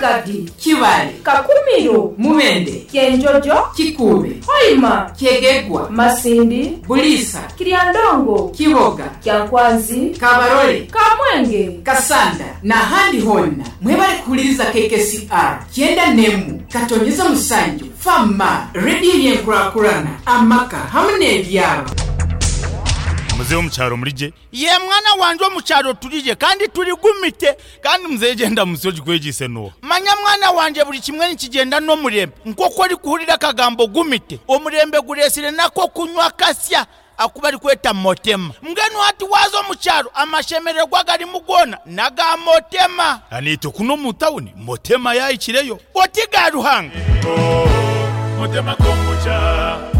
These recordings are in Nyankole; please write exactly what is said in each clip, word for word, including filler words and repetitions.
Kagadi, Kibaale, Kakumiro, Mubende, Kyenjojo, Kikuube, Hoima, Kyegegwa, Masindi, Buliisa, Kiryandongo, Kiboga, Kyankwanzi, Kabarole, Kamwenge, Kasanda n'ahandi honna mwebale kuhuliriza K K C R kyenda n'emu katonyeza musanju fama rediyo yenkurakurana amaka hamu n'ebyaro. Muzehe, omukyaro murije? Ye mwana wanje, omukyaro turije kandi turi gumite. Kandi muzehe, genda musi ogikwegise nuwo. Manya mwana wanje, buri kimwe nikigenda n'omurembe. Nk'oku orikuhurira akagambo gumite, omurembe guresire nako kunywa kasya aku barikweta Motema. Mbwenu hati waza omukyaro, amashemererwa garimu goona naga Motema. Aniite kuno omu tawuni Motema yahikireyo. Oti ga Ruhanga. Motema kombucha.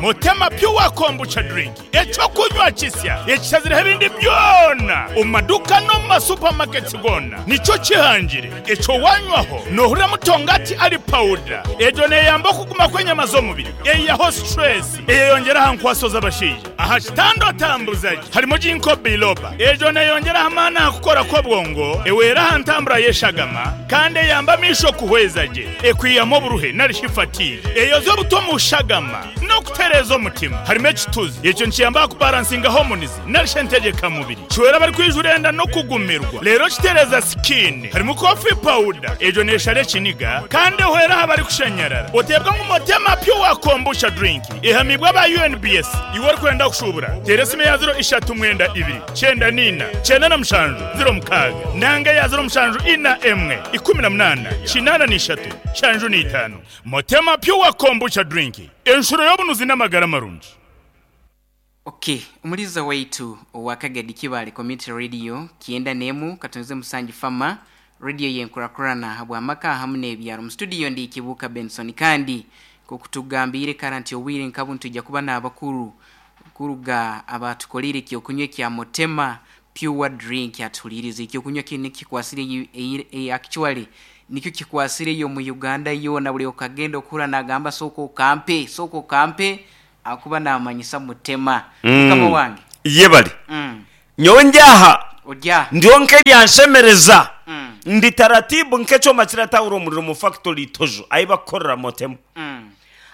Motema Pure Kombucha Drink, ekyokunywa kisya ekishazireho ebindi byona omu maduka n'omu masupamaketi gona. Nikyo kihangire ekyo wanywaho nohurira mutongati ali pawuda. Egyo neyamba okuguma kw'enyama z'omubiri, eyaho stress, eyeyongera aha nkwaso z'abashaija aha kitanda otambuzaje. Harimo ginkgo biloba, egyo neyongera amaani aha kukora kw'obwongo, ewera aha ntambura y'eshagama, kandi eyamba amisho kuhweza gye, ekwiyamu oburuhe narishi fatigue, eyoza obuto mu shagama n'okutereeza omutima. Harimo ekituzi, ekyo nikiyamba kubalansinga hormones narishi entegekamubiri, kiwera abari enda no kugumirwa, rero kitereza skin. Harimo coffee powder, egyo neshara ekiniga kandi ehwera aha bari kushanyarara. Oteebwa ngu Motema Pure Kombucha Drink ehamibwa aba U N B S. Iwe orikwenda kushubura, tera esimu ya ziro ishatu mwenda ibiri cyenda nina cyenda na mushanju ziro mukaaga nanga ya ziro mushanju ina emwe ikumi na munana kinana n'ishatu shanju n'itaano. Motema Pure Kombucha Drink, enshuro y'obunuzi n'amagara marungi. Okay, umuliza waitu wa Kagadi Kibale Community Radio, kienda nemu katonze musanji fama radio yenkurakurana habwamaka hamu n'ebyaro. Mu studio ndi Kibuka Benson, kandi kokutugambire karanti owire nkabu ntujja kuba n'abakuru kuruga abatukolire ekyokunywa kya Motema Pure Drink. Atulirize ekyokunywa kino kikwasire, actually nikyo kikwasire yo mu Uganda yona. Buli okagenda okura nagamba, "Soko okampe, soko okampe," akuba namanyisa Mutema. Mukama wange. Yebale. mm. Nyowe ndyaha. Odya. Ndiho nk'eryanshemereza. Mm. Ndi taratibu nk'ekyoma kiratahura omuriro mu factory itojo ahi bakukorera Motema. Mm.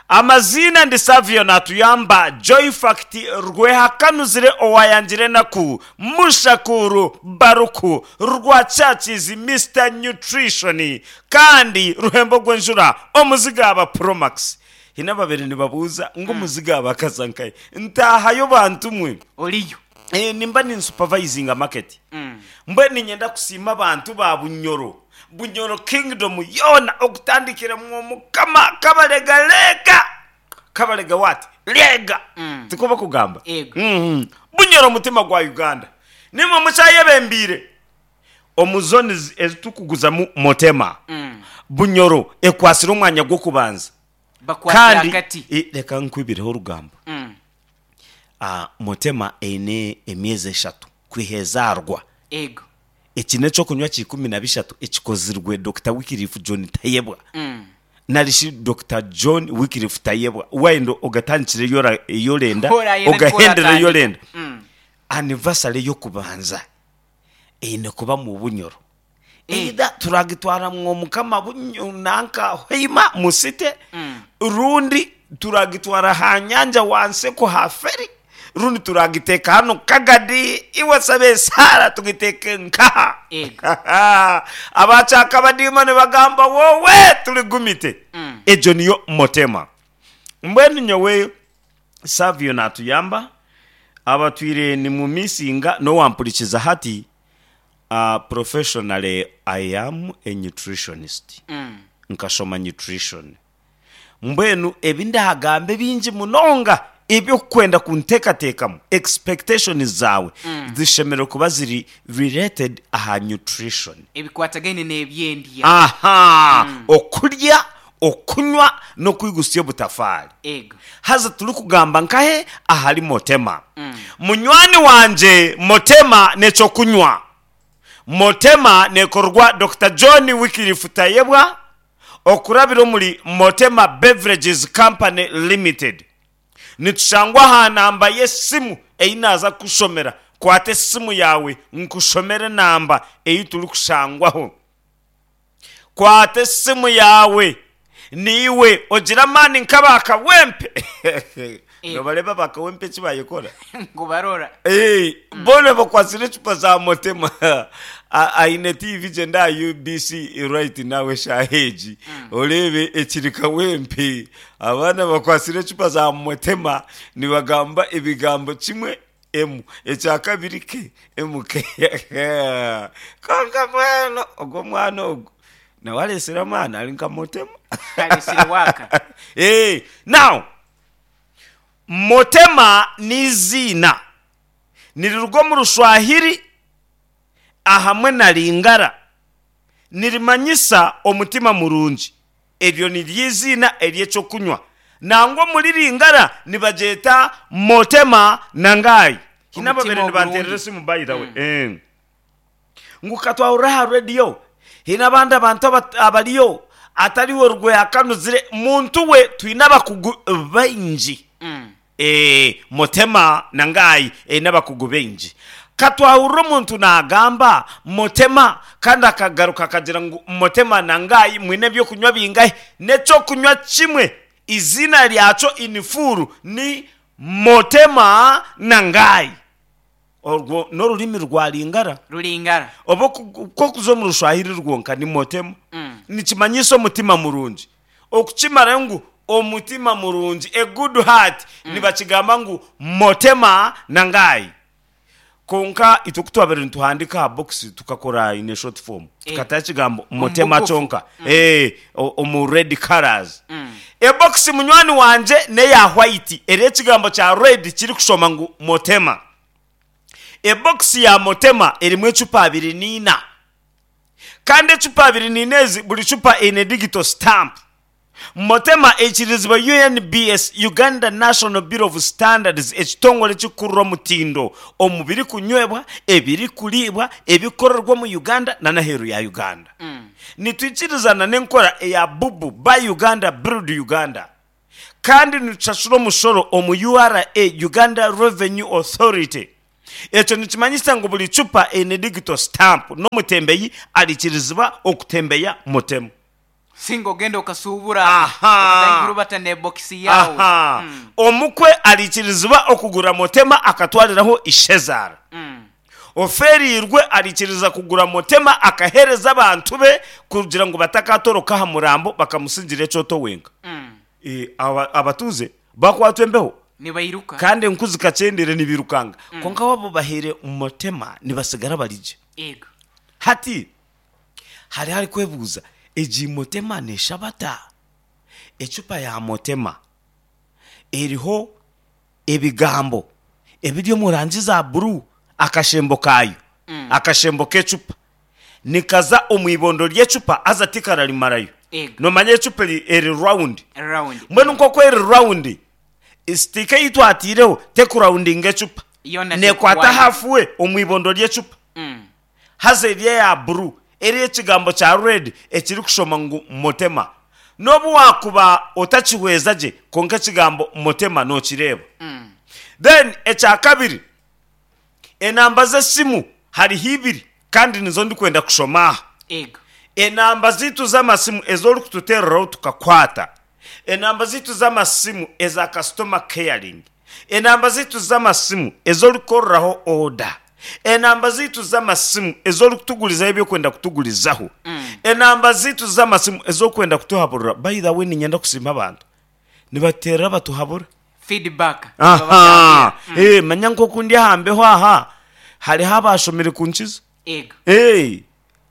Amazina ndi Savio Natuyamba Joy Fact Rwehakanuzire owayangire naku Mushakuru Baruku Rwacakizi, Mister Nutrition, kandi ruhembo gw'enjura omuzigaba Promax. Hina babiri nibabuuza ngu omuzigaba akaza nkaye ntahayo bantu mwe. Oliyo. Eh, nimba ninsupervisinga market. mm. Mbwe ninyenda kusiima abantu ba Bunyoro, Bunyoro Kingdom yona, okutandikira mu mukama Kabalega lega Kabalega wati lega. Mm. Tikuba kugamba. Ego. mm bunyoro mutima gwa Uganda, nimwe mukyayebembiire omu zones ezitukuguzamu Motema. Mm. Bunyoro ekwasire omwanya gw'okubanza. Bakwatira Kandi akati. Eh, reka nkwibireho orugambo. mm. Ah, Motema eine emyezi eshatu kwihezaarwa. Ego. Eki n'ekyokunywa kikumi na bishatu ekikozirwe Doctor Wikirifu John Tayebwa, mm. narishi Doctor John Wikirifu Tayebwa. Wenda ogatandikire yora- yorenda Orayenda. ogahendere. Niko. Yorenda. mm. Anniversary y'okubanza eine kuba mu Bunyoro. Eh. Either turagitwara mwo mukama Bunyo nanka Hoima musite, Mm. rundi turagitwara ha nyanja wanseko ha feri, rundi turagiteka hano Kagadi iwasabe sara tugiteke nkaha. Ego. Abachaka badima ne bagamba wowe tuli gumite. Mm. Egyo niyo Motema. Mbwenu nyowe Savio Natuyamba abatwire ni mu misinga nowampurikiza hati. uh, professionally I am a nutritionist. Mm. Nkashoma nutrition. Mbwenu ebi ndahagambe bingi munonga ebyokukwenda kunteekateekamu, expectation zawe mm. zishemereire kuba ziri related aha nutrition. Ebikwatagaine n'ebyendya. Aha, okurya, okunywa n'okwigusya obutafaari. Ego. Haza turi kugamba nkahe ahari Motema. Mm. Munywani wanje, Motema nekyokunywa. Motema nekorwa Doctor John Wikirifu Tayebwa okurabira omuri Motema Beverages Company Limited. Nitushangwa aha namba y'esimu ei naza kushomera. Kwata esimu yawe nkushomere namba ei turi kushangwaho. Kwata esimu yawe, niiwe ogira amaani nk'abakawempe. Nobareeba bakawempe eki bayikora? Ngu barora. Eh, boona bakwasire ecupa za motema. A- aine T V, gyenda aha U B C right now eshaaha egi, oreebe ekiri kawempe. Abaana bakwasire ecupa za motema, nibagamba ebigambo kimwe emu, ekya kabiri ke emu ke. Konka mbwenu ogwo omwana ogu nawe areesire amaani, ari nka motema. Areesire waaka. Eh, now motema n'iziina niriruga omu Rushwahiri ahamwe na Lingara, nirimanyisa omutima murungi. Eryo niryo iziina ery'ekyokunywa. Nangwa omuri Lingara nibagyeta motema nangayi hine. Omutima Ababere nibanterera ogurungi. esimu, by the way. Eh. Ngu katwahurira aha rediyo, hine abandi abantu aba- abariyo atariwe rweyakanuzire muntu we. Twine abakugu baingi. Mm. Eh, motema nangayi eine abakugu baingi. Katwahurira omuntu nagamba motema, kandi akagaruka akagira ngu motema nangayi. Mwine ebyokunywa bingahi? N'ekyokunywa kimwe, izina ryakyo in full ni motema nangayi. Orwo n'orurimi rwa Lingara. Rulingara. Oba ku- kokuza omu Rushwahiri rwonka ni motema. Mm. Nikimanyisa omutima murungi. Okukimara ngu omutima murungi, a good heart, nibakigamba ngu motema nangayi. Konka itwe kutwabire nituhandika aha box, tukakora in a short form, tukataho ekigambo motema bugufu. kyonka. Eh, o- omu red colors. Mm. Ebokisi, munywani wanje, neya white, eri ekigambo kya red kiri kushoma ngu motema. Ebokisi ya motema erimu ecupa abiri niina, kandi ecupa abiri niina ezi, buri cupa eine digital stamp. Motema eikirizibwa U N B S, Uganda National Bureau of Standards, ekitongore kikurura omutindo omu birikunywebwa, ebirikuribwa, ebikorerwa mu Uganda n'aheeru ya Uganda. Mm. Nitwikirizana n'enkora eya bubu, Buy Uganda, Build Uganda, kandi nitushashura omushoro omu U R A, Uganda Revenue Authority. Ekyo nikimanyisa ngu buri cupa eine digital stamp, n'omutembeyi arikirizibwa okutembeya motema. Singa ogenda okasuubura Aha. okutandikira bata n'ebokisi yawe. Aha. Mm. Omukwe arikirizibwa okugura motema akatwariraho ishezaara. Mm. Oferirwe arikiriza kugura motema akahereza abantu be kugira ngu batakatoroka aha murambo bakamusigira ekyoto wenka. Mm. E, aba- abatuze bakwatwa embeho. Nibairuka. Kandi enku zikakyendere, nibirukanga. Konka wabo bahere motema, nibasigara barigye. Ego. Hati hari hari kwebuuza, egi motema neshabata? Ecupa ya motema eriho ebigambo ebiri omu rangi za buru. Akashembo kayo, Mm. akashembo k'ecupa nikaza omu ibondo ry'ecupa, aza tikararimarayo. Ego. Nomanya ecupa eri, eri round. Round. Mbwenu nk'oku eri round, sticker ei twatiireho tekurawundinga ecupa. Yona. Nekwata tekuwaya. Hafuwe omu ibondo ry'ecupa. Mm. Haza eri eya buru eri ekigambo kya red ekiri kushoma ngu motema. N'obu wakuba otakihweza gye, konka ekigambo motema nokireeba. Mm. Then ekya kabiri, enamba z'esimu hariho ibiri, kandi nizo ndikwenda kushoma aha. Ego. Enamba zitu z'amasimu ez'orikututereraho tukakwata, enamba zitu z'amasimu eza customer caring, enamba zitu z'amasimu ez'orikukoreraho order, enamba zitu z'amasimu ez'orikutugurizaho ebyokwenda kutugurizaho, Mm. enamba zitu z'amasimu ez'okwenda kutuhaburira. By the way, ninyenda kusiima abantu nibaterera batuhabura. Feedback. Aha. Eh, manya nk'oku ndi ahambeho aha, hariho abashomere kunkiza. Ego. Hey,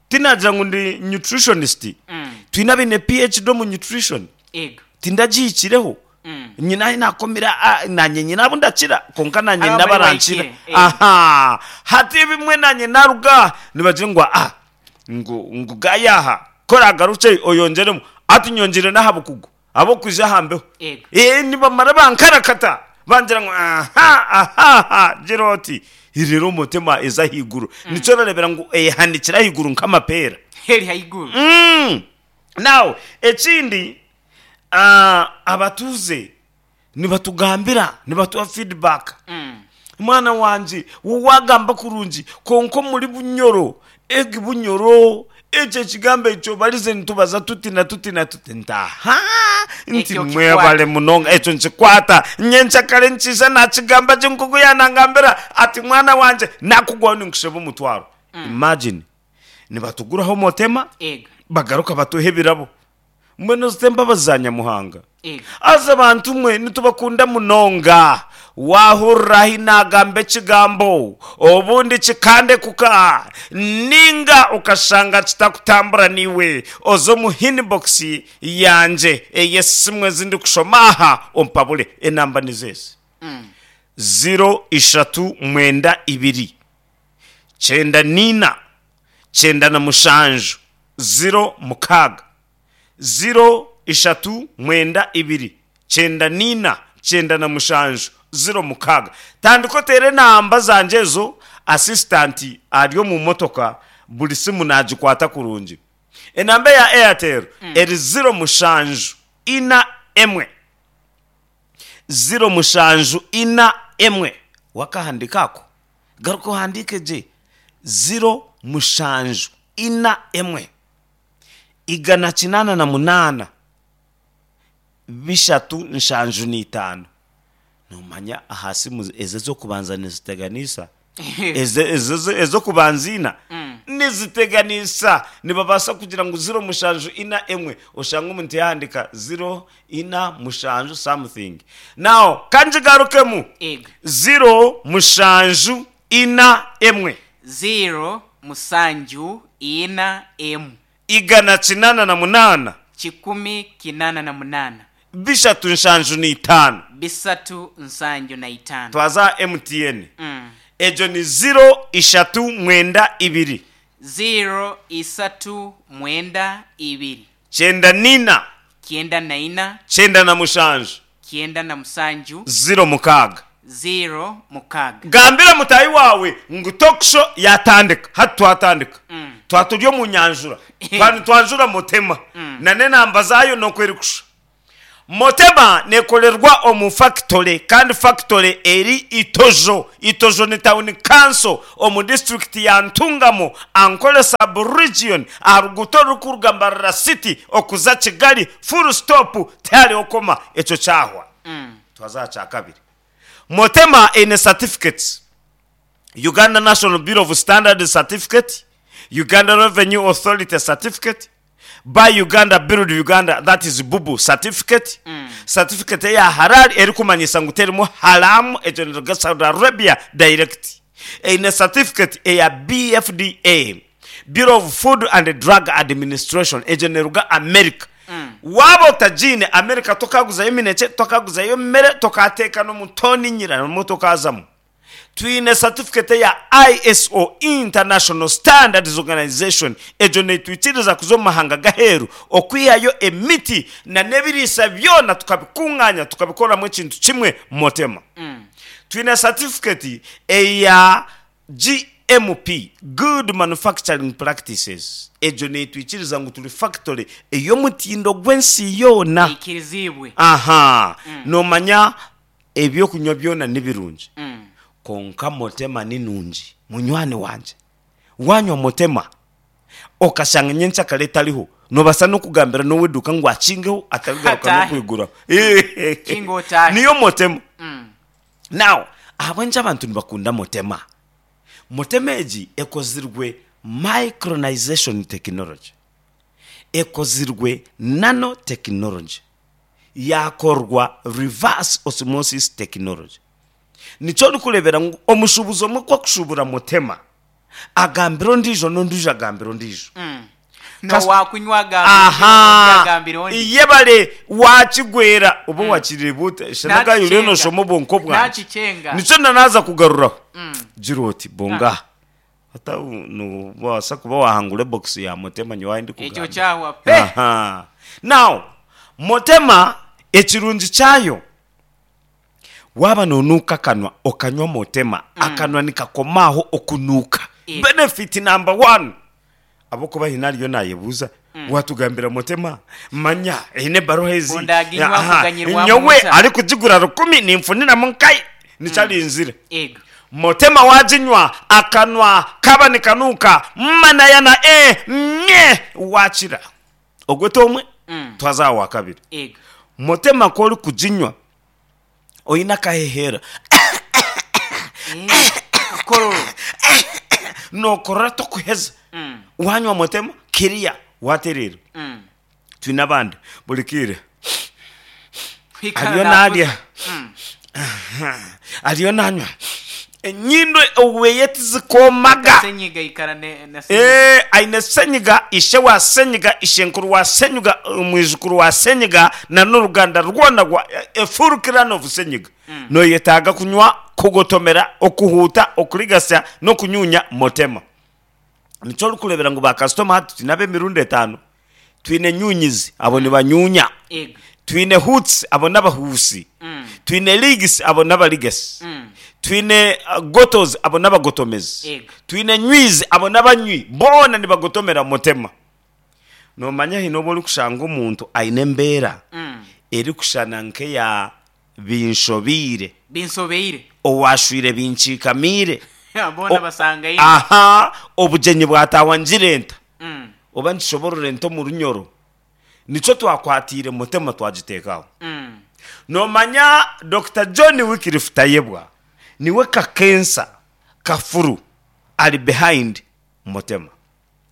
tinagira ngu ndi nutritionist. Mm. Twine abaine P H D omu nutrition. Ego. Tindagihikireho. Mm. Nyina nakomera, ah, nanye nyina abo ndakira, konka nanye Abo ndabarankira. bari bahikire, eh. Aha, hati bimwe nanye naruga nibagira ngu ah ngu ngu gayaha kora agaruke oyongeremu, ati nyongere n'aha bukugu abo kuja ahambeho. Ego. Eh, nibamara bankarakata, bangira ngu aha aha aha, gira oti rero motema eza ahiguru, nicyo rarebera ngu ehanikira ahiguru nk'amapeera. Heri haiguru. Mm. Now ekindi, uh, abatuze nibatugambira, nibatuha feedback. Mm. Mwana wanje, wagamba kurungi, konko muri Bunyoro, egi Bunyoro. Ekyo ekigambo ekyo barize nitubaza tuti na tuti na tuti ntaha nti Ekyo mwebale munonga ekyo nkikwata nyenkyakare nkiija nakigamba gye nkoku yanangambira ati mwana wangye nakugwaho ninkusheba omutwaro. Imagine nibatuguraho motema Ego. bagaruka batuha ebirabo mbwenu zite embabazi za Nyamuhanga. Ego. Aza abantu mwe nitubakunda munonga wahurira ahi nagamba ekigambo obundi kikande kuka ninga ukashanga kitakutambura niwe oze omu inbox yangye ey'esimu ezindi kushoma aha ompabure enamba nizezi Mm. ziro ishatu mwenda ibiri kyenda nina kyenda na mushanju ziro mukaaga ziro ishatu mwenda ibiri kyenda nina kyenda na mushanju ziro mukaaga. Tandika oteere enamba zangye ezo assistant ari omu motoka buri simu nagikwata kurungi. Enamba eya Airtel eri ziro mushanju ina emwe ziro mushanju ina emwe wakahandika ako garuka ohandike gye ziro mushanju ina emwe igana kinana na munana bishatu nshanju n'itaano. Nomanya aha simu ezo ez'okubanza niziteganisa Eze- ezo- ezo- ez'okubanza ina niziteganisa nibabaasa kugira ngu ziro mushanju ina emwe oshanga omuntu yahandika ziro ina mushanju something. Now kangigarukemu Ego. ziro mushanju ina emwe Zero musanju ina emu igana kinana na munana kikumi kinana na munana bishatu nshanju n'itaano bisatu nsanju na itaano. twaza M T N Mm. ejo ni ziro ishatu mwenda ibiri Zero isatu mwenda ibiri kyenda nina kyenda na ina kyenda na mushanju kyenda na musanju ziro mukaaga zero mukaaga. Gambira mutayi wawe ngu talk show yatandika hati twatandika Mm. twaturi omu nyanjura twani twanjura motema na n'enamba zaayo nokweri kusha. Motema nekorerwa omu factory kandi factory eri Itojo. Itojo ni town council omu district ya Ntungamo Ankole sub region aruguto rukuruga Mbarara city okuza Kigali full stop tihariho okoma ekyo kyahwa. Mm. Twaza kya kabiri. Motema ine certificates Uganda National Bureau of Standards certificate, Uganda Revenue Authority certificate, by Uganda Build Uganda that is Bubu certificate. Mm. Certificate ya halal erikumanyisa ngu terimu haramu ekyo niruga Saudi Arabia direct. Eine certificate eya B F D A Bureau of Food and Drug Administration ekyo niruga America. Mm. Waba otagiine America tokaguzayo eminekye tokaguzayo emmere tokateeka n'omutoni nyira n'omutokazamu. Twine certificate ya I S O International Standards Organization ejo netwikiriza kuza omu mahanga gaheru okwihayo emiti na n'ebiriisa byona tukabikunganya tukabikoramu ekintu kimwe motema. Mm. Twine certificate eya G M P Good Manufacturing Practices ejo netwikiriza ngu turi factory ey'omutindo gw'ensi yoona. Eikirizibwe. Aha. Mm. Nomanya ebyokunywa byona ni birungi. Mm. Konka motema ni nungi munywani wanje wanywa motema okashanga nyenkyakare etariho nobasa n'okugambira n'oweduka ngu akingeho atarigaruka Atahe. n'okwiguraho. Kinga otahe. Niyo motema. Mm. Now ahabw'enki abantu nibakunda motema? Motema egi ekozirwe micronization technology ekozirwe nanotechnology yakorwa reverse osmosis technology. Nikyo orikureebera ngu omushuubuzi omwe ku akushubura motema agambira ondiijo n'ondiijo agambira ondiijo. Mm. Kas- Nowakunywa agambira ondi, Aha. agambira ondi. Yebale wakigwera oba wakireeba ota shanagayo Nakichenga. rero noshoma obwonko bwangye. Nakichenga. Nikyo nanaza kugaruraho. Mm. Gira oti bonga ata nobaasa kuba wahangura ebokisi ya motema nyowe ahi ndikugamba. Ekyo kyahwa pe. Aha. Now motema ekirungi kyayo waba nonuuka akanwa okanywa motema Mm. akanwa nikakomaho okunuuka. Eh. Benefit number one abokuba hina ariyo nayebuuza Mm. watugambira motema manya eine ebaruha ezi. Bondaginywa Aha. kuganyirwamu Nyowe muta. arikugigura rukumi ninfuniramu nkai nikyarinzire. Ego. Motema waginywa akanwa kaba nikanuuka manayana e nye wakira ogwete omwe. Mm. Twaza aho wa kabiri. Ego. Motema kori kuginywa oyine akahehera. Eh, kororo. Nokorora tokuheza. Mm. Wanywa motema kiriya waterera. Mm. Twine abandi bulikire Kwikara ariyo nakuza. narya. Mm. Ariyo nanywa enyindo oweye tizikomaga. Senyiga ikara ne na senyiga. Eh, aine senyiga ishe wa senyiga ishenkuru wa senyiga omwijukuru wa senyiga na n'oruganda rwona rwa efurukirano of senyiga. Mm. Noyetaaga kunywa kugotomera okuhuuta okurigasa n'okunyunya motema. Nikyo orikureebera ngu bakasitoma hati twine ab'emirundi etaano. Twine nyunyizi, abo nibanyunya. Ego. Twine hoots, abo n'abahuusi. Mm. Twine ligs, abo n'abarigasi. Mm. Twine uh, gotos, abo n'abagotomezi. Ego. Twine nywizi, abo n'abanywi boona nibagotomera motema. Nomanya hine obu orikushanga omuntu aine embeera Mm. erikushana nk'eya binshobiire. Binsobeire. Owashwire binkiikamiire. Bona O- basanga ino. Aha obugyenyi bwatahwa ngirenta Mm. oba ntishoborora ente omu runyoro nikyo twakwatiire motema twagiteekaho. Mm. Nomanya Dr John Wycliffe Tayebwa niwe kakensa kafuru ari behind motema.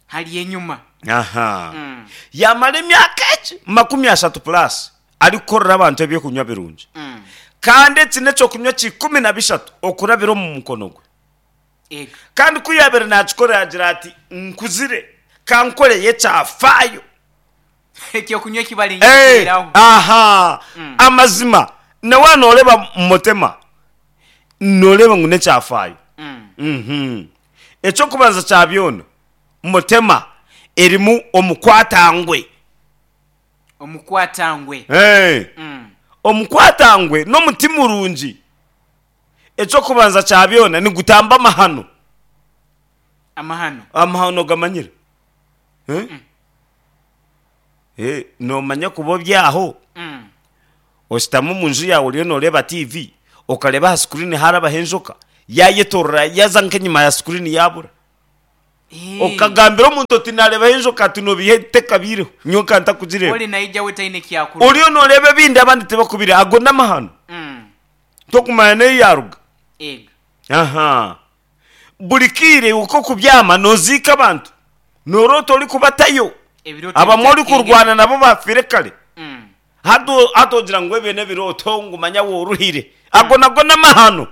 Hali enyuma. Aha. Mm. Yamara emyaka egi makumi ashatu plus arikukorera abantu ebyokunywa birungi. Mm. Kandi eki n'ekyokunywa kikumi na bishatu okurabira omu mukono gwe. Ego. Kandi ku yabire nakikora yagira ati nkuzire kankoreye ekyafaayo. Ekyokunywa kibali Eh, nyiraho. aha. Mm. Amazima nawe nooreba motema nooreba ngu n'ekyafaayo. Mm. Mhm. Ekyokubanza kya byona motema erimu omukwatangwe. Omukwatangwe. Hey. Mm. Omukwatangwe n'omuti murungi. Ekyokubanza kya byona nigutamba amahano. Amahano. Amahano gamanyire. Eh? Eh, nomanya kuba obyaho. Mm. Oshitama omu nju yawe oriyo noreeba T V okareba aha screen harabaho enjoka yayetorora yaza nk'enyima ya screen yabura. Eh. Okagambira omuntu oti narebaho enjoka ati nobihe tekabiireho nyowe ntakugireeba. Oli naija we taine kyakuru. Oriyo noreeba ebindi abandi tibakubire ago n'amahano. Mm. Tokumanya neyi yaruga. Ego. Aha buri kiire uko kubyama noziika abantu norota ori kubatayo. Ebiroto abamwe ori bitakenge. kurwana nabo bafire kare. Mm. Hato hatogira ngu ebyo n'ebirooto ngu manya woruhire ago nago n'amahano.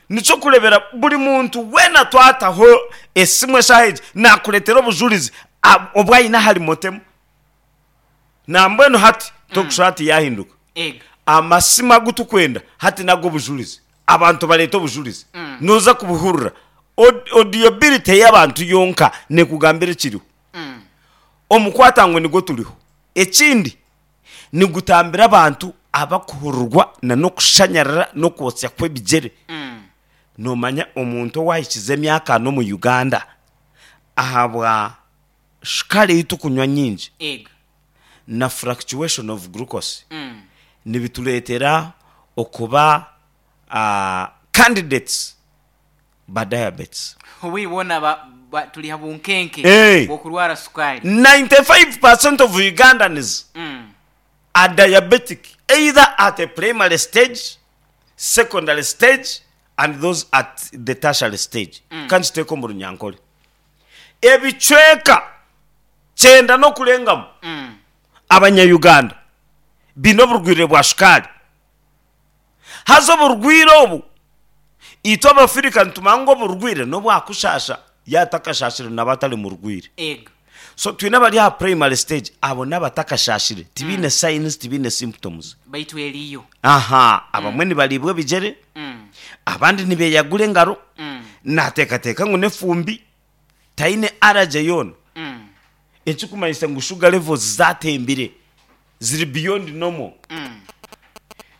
Nikyo kurebera buri muntu weena twataho esimu eshaaha egi nakureetera obujurizi ab- obwayine ahari motema nambwenu hati tokushusha hati yahinduka. Ego. Amasimu agu tukwenda hati nago obujurizi abantu bareeta obujurizi. Mm. Noza kubuhurira Aud- audibility y'abantu yonka nekugambira ekiriho. Mm. Omukwatangwe nigwo turiho. Ekindi nigutambira abantu abakuhururwa na n'okushanyarara n'okwotsya kw'ebigyere. Mm. Nomanya omuntu owahikize emyaka ana omu Uganda ahabwa shukari ei tukunywa nyingi Ego. na fluctuation of glucose Mm. nibitureetera okuba uh, candidates ba diabetes. Obwibona ba, ba, tuli habunkenke Eh. bwokurwara sukari. ninety-five percent of Ugandans Mm. are diabetic either at a primary stage, secondary stage and those at the tertiary stage. Mm. Kandi kiteeka omu runyankore ebicweka kyenda n'okurengamu Mm. abanyayuganda biine oburwire bwa shukaari. Haza oburwire obu itwe abafirika nitumanya ngu oburwire n'obwakushasha yatakashashire naba atari murwire. Ego. So twine abari aha primary stage, abo n'abatakashashire tibiine signs, tibiine symptoms. Baitu eriyo. Aha abamwe nibaribwa ebigyere. Mm. Abandi nibeyagura engaro. Mm. Nateekateeka ngu n'efumbi taine allergy yoona. Mm. Ekikumanyisa ngu sugar levels zatembire ziri beyond normal. Mm.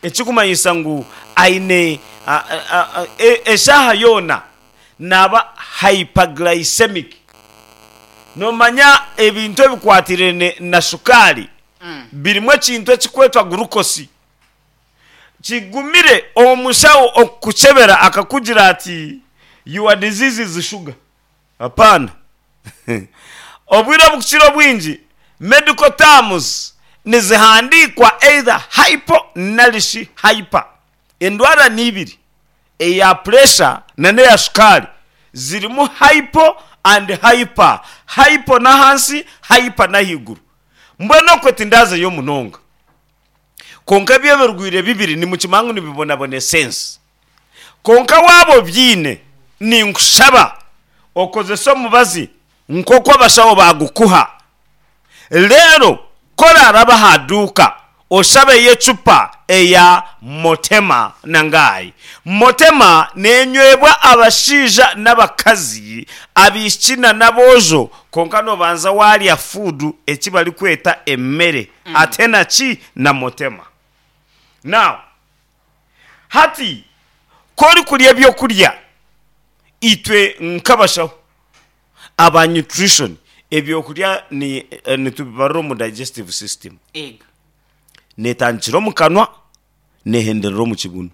Ekikumanyisa ngu aine a- a- a- e- eshaaha yoona naba hyperglycemic. Nomanya ebintu ebikwatirene na shukaari Mm. birimu ekintu ekikwetwa glucose. Kigumire omushaho okukuchebera akakugira ati your disease is sugar. Hapana. Obwire obukukira obwingi medical terms nizihandikwa either hypo narishi hyper. Endwara ni ibiri, eya pressure na n'eya shukaari zirimu hypo and hyper. Hypo n'ahansi, hyper n'ahaiguru. Mbwenu okwe tindazeyo munonga. Konka ebyo ebirwire bibiri nimukimanya ngu nibibonabonesa ensi. Konka waaba obyine, ninkushaba okozese omubazi nk'oku abashaho bagukuha. Reero ku oraaraba aha duuka oshabeyo ecupa eya Motema Nangai. Motema neenywebwa abashaija n'abakazi, abaishiki na n'aboojo, kwonka noobanza waarya fuudu eki barikweta emere ate na ki? Na Motema. Now, hati ku orikurya ebyokurya, itwe nk'abashaho aba nutrition, ebyokurya ni nitubibarira omu digestive system. Ego. Neetandikira omu kanwa, neehenderera omu kibunu.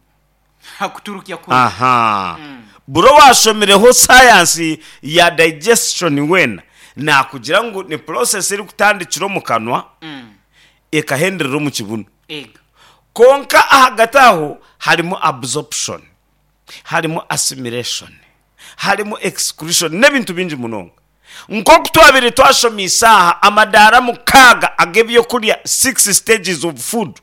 Hakuturukya kuri. Aha. Buri owaashomireho sayansi ya digestion weena naakugira ngu ni process erikutandikira omu kanwa ekahenderera omu kibunu. Ego. Kwonka ahagati aho harimu absorption, harimu assimilation, harimu excretion n'ebintu bingi munonga. Nk'oku twabaire twashomeise aha amadaara mukaaga ag'ebyokurya, six stages of food,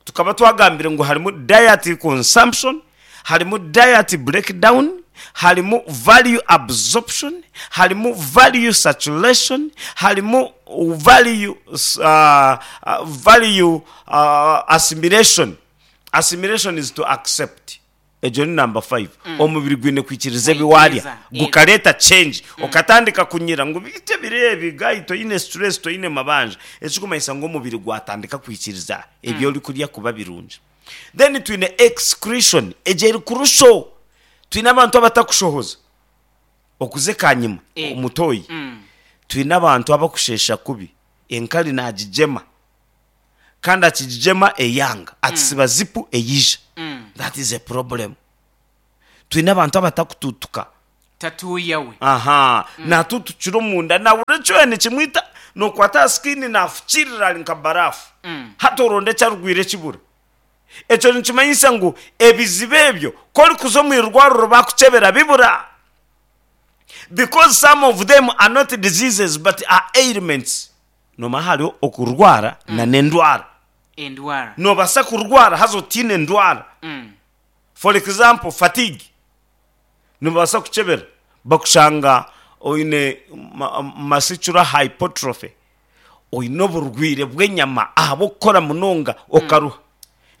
tukaba twagambire ngu harimu diet consumption, harimu diet breakdown, harimu value absorption, harimu value saturation, harimu value, uh, uh, value uh, assimilation. Assimilation is to accept. Egyo ni number five. Omubiri gwine kwikiriza ebi waarya Kwikiriza, yego. gukareeta change okatandika kunyira ngu bite biri ebi guy toine stress toine mabanja ekikumanyisa ngu omubiri gwatandika kwikiriza ebi orikurya kuba birungi. Then twine excretion egyo eri kurusho. Twine abantu abatakushohoza okuza ekanyima Ego. omutoyi. Mm. Twine abantu abakusheesha kubi enkari nagigyema kandi akigigyema eyanga akisiba zipu eyija. Mm. That is a problem. Twine abantu abatakututuka. Tatuuya we. Aha, natutukira omunda nahurira ekyoya nikimwita nokwata aha skin nafukirira ari nka barafu. Mm. Hati oronda eki arugwire ekibura. Ekyo nikimanyisa ngu ebizibu ebyo ku orikuza omu irwariro bakukyebera bibura. Because some of them are not diseases but are ailments. Nomanya hariho okurwara na n'endwara. Endwara. Nobaasa kurwara haza otiine endwara. Mm. For example, fatigue. Nibabaasa kukyebera bakushanga oine ma- muscular hypertrophy. Oine oburwire bw'enyama ahabw'okukora munonga okaruha.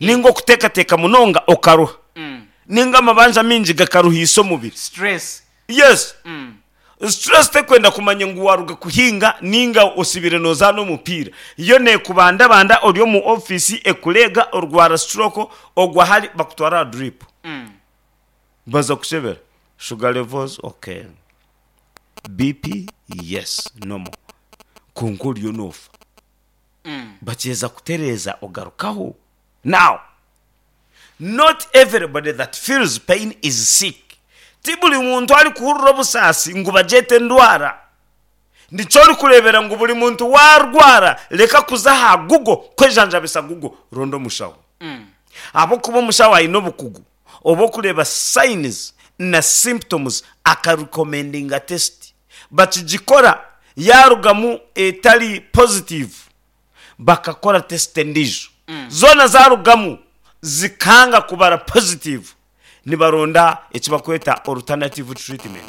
Ninga okuteekateeka munonga okaruha. Mm. Ninga amabanja mingi gakaruhiisa omubiri. Stress. Yes. Mm. Stress tekwenda kumanya ngu waruga kuhinga ninga osibire nozaana omupiira. Yo neekubandabanda ori omu ofiisi ekureega orwara stroke ogwa hari bakutwara aha drip. Mm. Baza kukyebera sugar levels okay. B P yes normal. Kwonka oriyo noofa. Mm. Bakyeza kutereeza ogarukaho. Now, not everybody that feels pain is sick. Ti buri muntu arikuhurira obusaasi ngu bagyete endwara. Nikyo orikureebera ngu buri muntu waarwara reka kuza aha Google kwejanjabisa Google ronda omushaho. Mm. Ahabw'okuba omushaho aine obukugu obw'okureeba signs na symptoms akarecommendinga test. Bakigikora yarugamu etari positive bakakora test endiijo. Zoona zarugamu zikanga kubara positive nibaronda eki bakweta alternative treatment.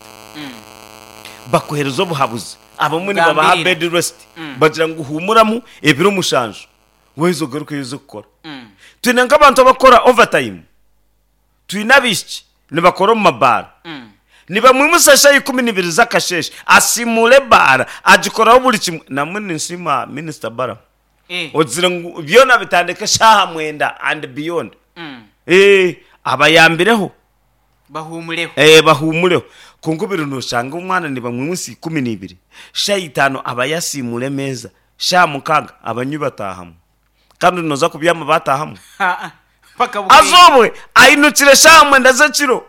Bakuheereza obuhabuzi. Abamwe nibabaha Gambirira. bed rest. Bagira ngu huumuramu ebiro mushanju waheza ogaruke oze kukora. Mm. Twine nk'abantu abakora overtime. Twine abaishiki nibakora omu mabaara. Mm. Nibamwimusa shaaha ikumi n'ibiri z'akasheeshe asiimuura ebaara agikoraho buri kimwe. Namwe ninsiima Minisita Balaam Eh. ogizire ngu byona bitandike shaaha mwenda and beyond. Mm. Eh, abayambireho. Bahuumureho. Eh, bahuumureho. Kwonka obiro noshanga omwana nibamwimusa ikumi n'ibiri shaaha itaano aba yasiimuura emeeza shaaha mukaaga abanywi bataahamu. Kandi nooza kubyama bataahamu. Ha. Paka bukeye. Azobwe ainukire shaaha mwenda z'ekiro,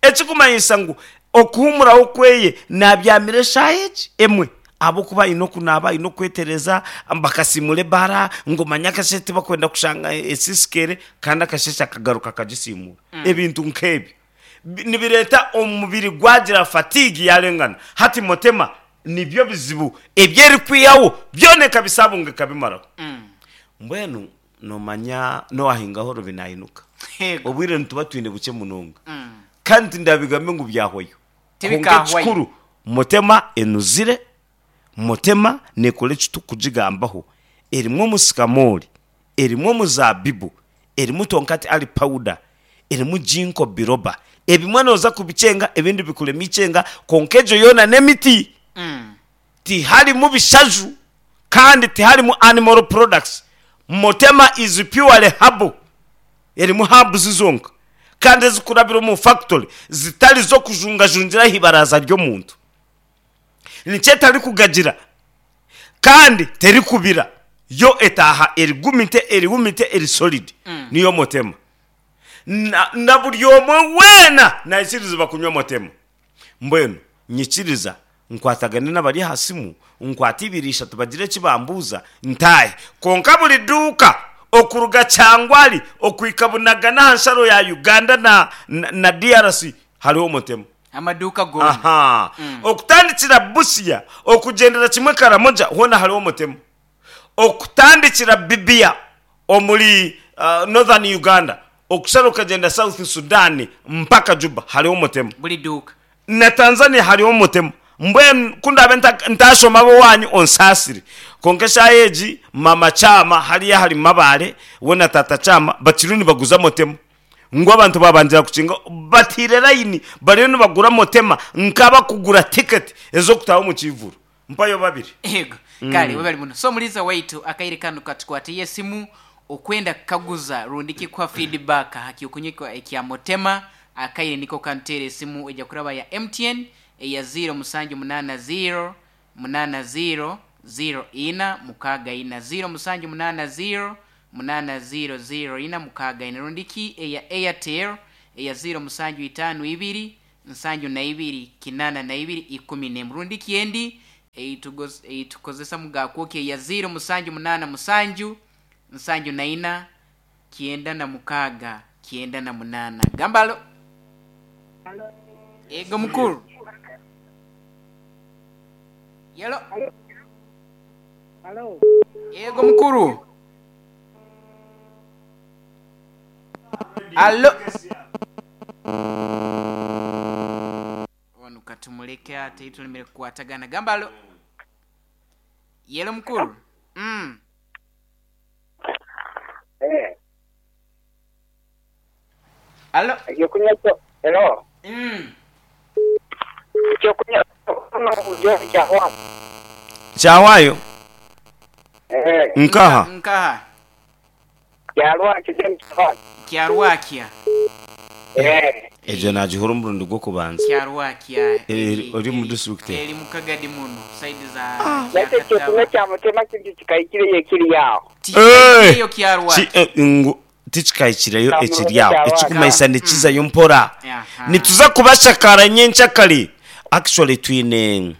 ekikumanyisa ngu okuhumuraho kweye nabyamire eshaaha egi emwe, ahabwokuba aine okunaaba, aine okwetereza, bakasimura ebara ngu manya akasheshe tibakwenda kushanga esisikere, kandi akasheshe akagaruka akagisimura. Ebintu nk'ebyo Bi- nibireeta omubiri gwagira fatigue yarengana. Hati Motema nibyo bizibu ebyerikwihaho byona, ekabisabunga ekabimaraho. Mbwenu nomanya nowahingaho rubi nayinuka. Yego. Obwire nituba twine bukye munonga, Mm. kandi tindabigambe ngu byahwayo. Tibikahwayo. Kwonka ekikuru, Motema enuzire, Motema nekora eki tukugigambaho. Erimu omusikamori, erimu omuzabibu, erimu tonkati ali powder, erimu ginkgo biloba. Ebimwe noza kubikyenga, ebindi bikurema ikyenga, konka egyo yoona n'emiti. Mm. Tiharimu bishaju kandi tiharimu animal products. Motema is purely herbal, erimu herbs zonka kandi ezikurabira omu factory, zitari z'okujungajungira aha ibaraza ry'omuntu. Nikyo etarikugagira kandi terikubira, yo etaha erigumite, erihumite, eri solid. Niyo Motema. na, na buri omwe weena naikiriza kunywa Motema. Mbwenu nyikiriza nkwatagane n'abari aha simu, nkwate ibiri ishatu bagire eki bambuuza ntahe. Konka buri duuka okuruga Kyangwali okwika Bunagana aha nsharo ya Uganda na, na, na D R C hariho Motema. Amaduuka gona. Aha, okutandikira Busia okugendera kimwe Karamoja hoona hariho Motema. Okutandikira Bibia omuri uh, northern Uganda, okushara okagenda South Sudan mpaka Juba hariho Motema. Buri duuka. Na Tanzania hariho Motema. Mbwenu kundabe nta- ntashoma abo wanyu onsaasire. Konka eshaaha egi mama Kyama hariya hari Mabare, we na tata Kyama bakiriyo nibaguza Motema, ngu abantu babangira kukinga batire layini, bariyo nibagura Motema nk'abakugura tiketi ez'okutaha omu kivuru. Mpayo babiri. Yego, kale webali muno. So muliza waitu, akaire kano katukwatiye esimu okwenda kukaguza rundi kikuha feedback hakyokunywa ekya Motema. Akaire niko kantere esimu ejja kuraba ya M T N eya zero musanju munana zero munana zero zero ina mukaaga ina, zero musanju munana zero munana zero zero ina mukaaga ina, rundiki eya Airtel eya zero musanju itano ibiri nsanju na ibiri kinana na ibiri ikumi n'emu, rundiki endi eitugos- eitukozesa mugakwoki eya zero musanju munana musanju nsanju na ina kienda na mukaaga kienda na munana. Gambalo, ego mukuru yelo. Halo. Ego mukuru, alo. Wano katumuleke ate itulemere kukwatagana. Gambalo, yelo mukuru mm. Eh, Alo. Ekyokunywa kyo. Hello. mm. Ekyokunywa no ujjo kyahwa. Kyawayo? Eh, Nkaha? Nkaha? Kyalwa kijeni kyahwa. Kyarwakya. Eh, Egyo nagihura omurundi gw'okubanza. Kyarwakya. Eri- ori mu district? Eri mukagadi muno side za Nate ekyokunywa kya Mutema kintu kikayikire yekiri yaho. Eh! Eyo kyarwakya. Ki- eh, ngu tikikahikireyo ekiri aho. Kyarwakya. Ekikumaisa nikizayo mpora. Aha. Nituza kubashakara nyenkyakare. Actually twine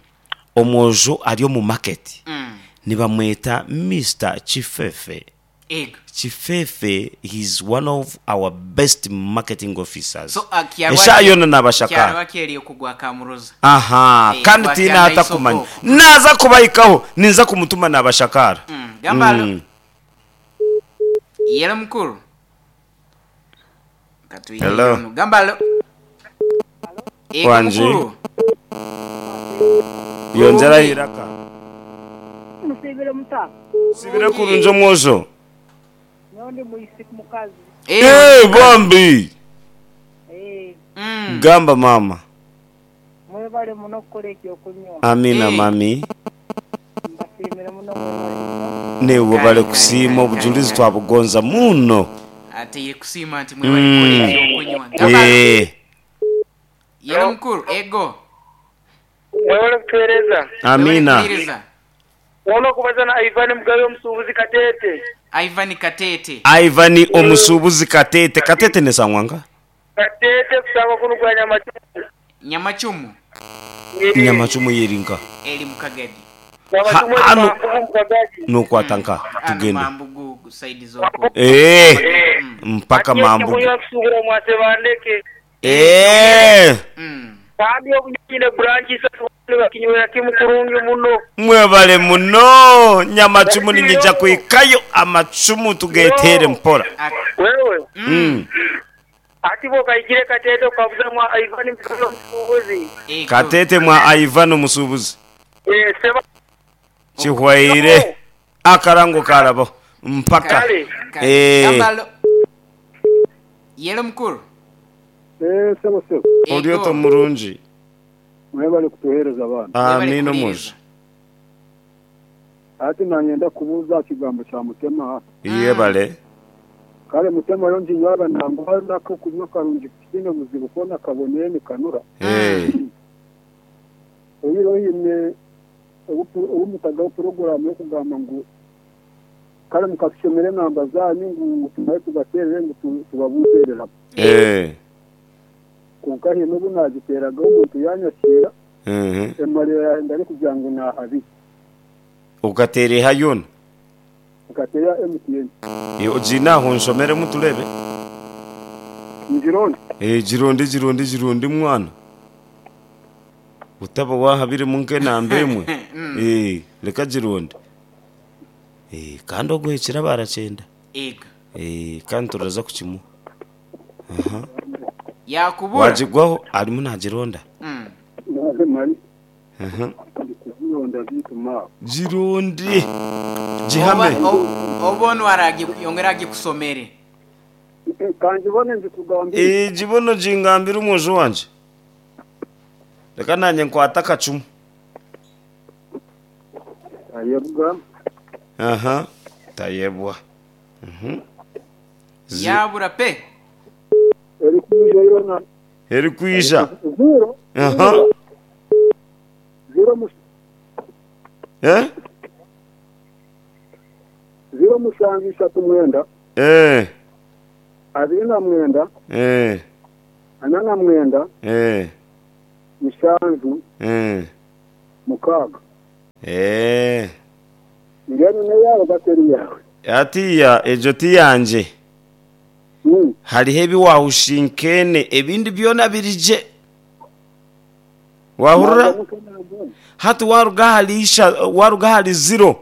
omwojo ari omu market, Mm. nibamweta Mister Chifefe. Ego. Chifefe, he's one of our best marketing officers. So uh, kyarwakya Esha yona nabashakara. Kyarwakya eri okugwa kamuroza. Aha. Eh, Kandi Gwakya tiina atakumanya naisoko. naza kubayikaho, ninza kumutuma nabashakara. Mm. Gambalo. Mm. Yelo mukuru. Katuile. Hello. Gambalo. Ego. Wanje. Mukuru. Yonjera iraka. Musibire muta. Sibire kurungi omwojo. Nondi muisi mukazi. Eh, Eh, bombi. Eh, Mm. Gamba mama. Mwebale muno kukola ekyokunywa. Amina. Eh. Mami. Mbasiimire muno, mwebale muno. Newe Kale, bale kale, kusiima. kale, Obujulizi kale. twabugonza muno. Ate ye kusiima nti mwebale kukola ekyokunywa. Gambalo. Eh, Yelo mukuru. Ego. Mwebale kutuweereza. Amina. Mwebale kuwuliriza. Wona kubaza na Ivan Mugabe omusuubuzi Katete. Ivan Katete. Ivan omusuubuzi Katete. Katete nesangwanga? Katete kusaba kuno kwa Nyamachumu. Nyamachumu. Nyamachumu yerinka. Eli mukagadi. Nyamachumu Ha- ano- mukagadi. Nokwata nka Ano tugende. Mambugu side zoko. Eh, mpaka Mambugu. Kunywa kusubura mwase bandeke. Eh, Mm. Kandi obunyine branch isatu bakinywera kimu kurungi muno. mwebale muno Nyamachumu ninyija kuikayo amachumu tugetere mpora. Ak- Wewe Mm. ati bo kaikire Katete ukabuza mwa Ivan Mugabe omusuubuzi. Ego. Katete mwa Ivan omusuubuzi. Eh seba Kihwaire akarango karabo mpaka. Kale. Kale. Eh. Gambalo. Yelo mukuru. Eh, sebo sebo Ego. Olyoto murungi. mwebale kutuheereza abaana. Mwebale Amina kuliiriza. muzi. Ati nanyenda kubuuza kigambo kya Mutema. Yebale. Kale Mutema yo nginywaba nangwa nako kunywa karungi kine buzibu kona kaboneye nikanura. Eh. Oyiro yine obumutagaho porogaramu yokugamba ngu kale mukatushomera enamba zanyu ngu tumaye tubaterere ngu tu- tubabuuterera. Eh. Konka hine obu nagiteragaho omuntu yanyakira Mhm. emarira yahenda arikugira ngu nahabi Ukatereha yona. nkateera M T N. Eh, ojina aho nshomeremu turebe. Ngironde. Eh, gironde gironde gironde mwana. Utaba wahabire munke namba emwe. Eh, leka gironde. Eh, kandi oguhekera barakyenda. Ego. Eh, kandi turaza kukimu. Yakubura. Wagigwaho arimu nagironda. Mm. Naze mari Mhm. ndikuzironda bituma Gironde. Gihame. Oba- o- Oba ono aragi yongera agikusomere. kanjibone nzikugambire. Eh, gibono gingambira omwojo wanje. Leka nanye nkwata akacumu. Ayebwa. Aha. Tayebwa. Mhm. Zi- Yabura pe. Eri kuija yona Eri kwija. zero Aha. zero mus Eh? zero mushanju ishatu mwenda Eh. abiri na mwenda Eh. ana na mwenda Eh. mushanju Eh. mukaaga. Eh. Ngeno neyawe bateri yawe. Atiya ejo tiyanje. Mm. Hariho ebi wahushinkene ebindi byona birije. Wahurira? Hati waruga hali isha waruga hali zero.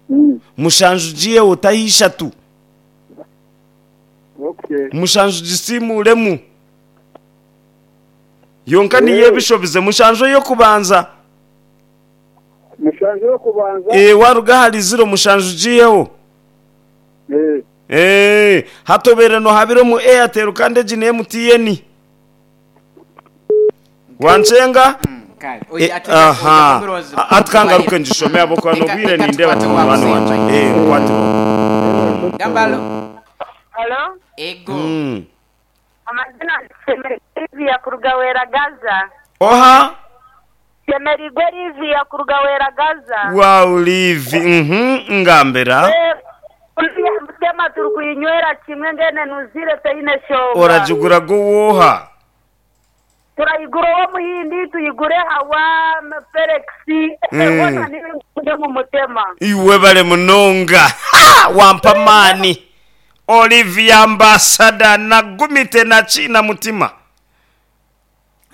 Mm. Mushanju giye utaho ishatu. Okay. Mushanju gisimuremu. Yonka niyo ebishobize mushanju yo kubanza. Mushanju yo kubanza. Eh waruga hali zero mushanju giyeho. Eh. Eh hatobere no habiro mu Airtel kandi egi ni M T N. Wanchenga? Mm, kale. Eh, Oya atu aha. Atkangaruke njishome abo kwa nobwire ninde abantu wanje. Eh nkwate. Gambalo. Halo? Ego. Mm. Amazina Semerivia kuruga Gaza. Oha Semerigwe Livia kuruga Gaza. Wow livi. Mhm ngambera. Eh, uriya Mutema turi kuyinywera kimwe ngene nuzire teine shonga. Orajugura guwoha. Turayigura uwo muhindi tuyigure hawa Felix. Mm. Ebona niwe mu mutema. Iwe bale munonga. Ha! Wampa mani. Olivia ambassador nagumite na china mutima.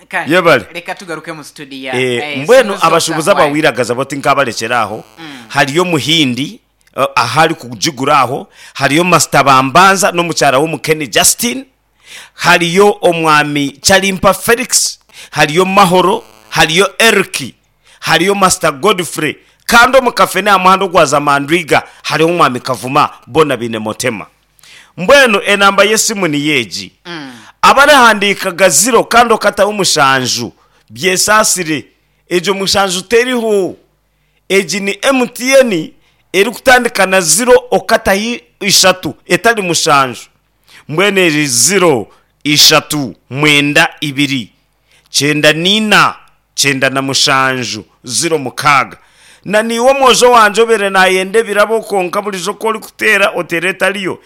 Kale. Yebale. Reka tugaruke mu studio. Eh, mbwenu abashubuza abawiragaza boti nkabalekera aho. Hariyo muhindi uh, ahari kujigura aho, hariyo Master Bambanza n'omukyara w'omukene Justin, hariyo omwami Chalimpa Felix, hariyo Mahoro, hariyo Erki, hariyo Master Godfrey, kandi omu kafe ni amuhanda ogwa Zamandwiga hariho omwami Kavuma bona bine Motema. Mbwenu enamba y'esimu ni yeegi. Mm. Abarahandikaga zero kandi okataho omushanju byesasire egyo mushanju teriho. Egi ni M T N erikutandika na zero okataho ishatu etari mushanju. Mbwenu eri zero ishatu mwenda ibiri kyenda nina kyenda na mushanju zero mukaaga. Na niiwe omwojo wanje obeire nayenda ebirabo konka burijo ku orikuteera oteera etariyo.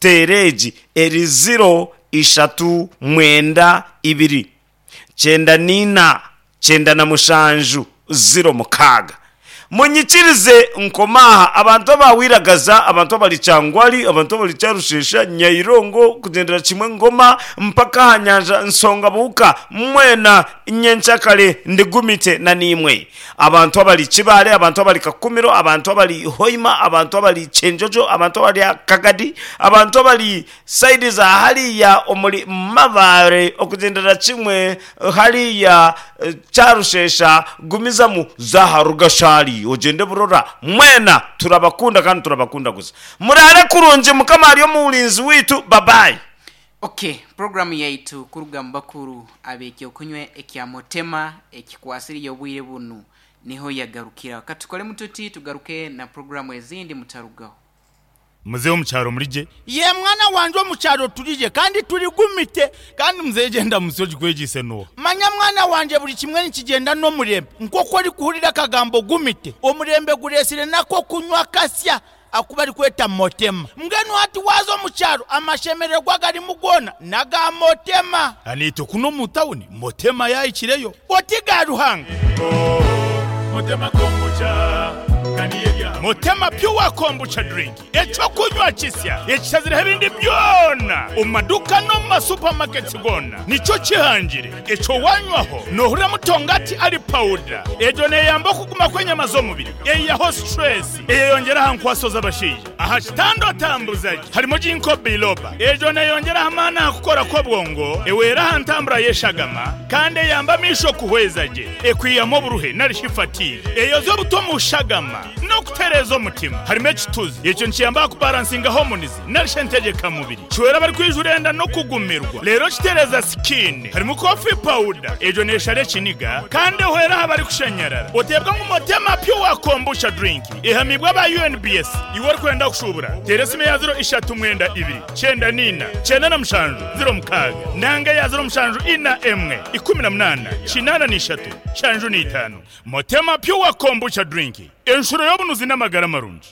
Teera egi eri ziro ishatu mwenda ibiri kyenda niina kyenda na mushanju ziro mukaaga. Munyikirize nkomaha abantu abawiragaza, abantu abali Kyangwali, abantu abali Kyarushesha, Nyairongo, kugendera kimwe Ngoma mpaka aha nyanja Nsonga Buhuka, mwena nyenkyakare ndigumite na nimwe. Abantu abali Kibale, abantu abali Kakumiro, abantu abali Hoima, abantu abali Kyenjojo, abantu abali Kagadi, abantu abali saidi za hariya omuri Mabare, okugendera kimwe hariya eh, Kyarushesha, gumizamu za Rugashari, ogende burora, mwena turabakunda kandi turabakunda gusa. Murare kurungi, Mukama ari omurinzi witu. Babayi. Okay, programu yaitu kuruga mu bakuru abekyo kunywe ekya Motema ekikwasiriye obwire bunu niho yagarukira. Katukole mututi tugaruke na programu ezindi mutarugaho. Muzehe omukyaro murije? Ye mwana wanje omukyaro turije kandi turigumite. Kandi muzehe genda musoji kwegise no. Manya mwana wanje buri kimwe nikigenda n'omurembe. Nk'oku orikuhurira akagambo gumite, omurembe guresire nako kunywa kasya akuba arikweta Motema. Mbwenu hati waza omukyaro amashemererwa garimu goona naga Motema. Anito kuno mu tawuni Motema yayikireyo. Oti ga Ruhanga. Motema kombucha Motema pure kombucha drink, ekyokunywa kisya ekishazireho ebindi byona omu maduka no mu masupamaketi gona, nikyo kihangire ekyo wanywaho nohurira mutongati ari pawuda. Egyo neyamba okuguma kw'enyama z'omubiri, eyiyaho stress, eyeyongera aha nkwaso z'abashaija, aha kitanda otambuzaje harimo ginkgo biloba. Egyo neyongera amaani aha kukora kw'obwongo, ewera aha ntambura y'eshagama, kandi eyamba amaisho kuhweza gye, ekwihamu oburuhe narishi fatigue, eyoza obuto mu shagama n'okutereeza omutima. Harimo ekituzi, ekyo nikiyamba kubalansinga hormones narishi entegekamubiri, kiwera abari enda no kugumirwa, rero kitereza skin. Harimo coffee powder, egyo neshara ekiniga kandi ehwera aha barikushenyerara. Oteebwa ngu Motema pure kombucha drink ehamibwa aba U N B S. Iwe orikwenda kushubura, teera esimu ya ziro ishatu mwenda ibiri kyenda niina kyenda na mushanju ziro mukaaga, nanga ya ziro mushanju ina emwe ikumi na munana kinana n'ishatu shanju n'itaano. Motema pure kombucha drink, enshuro y'obunuzi n'amagara marungi.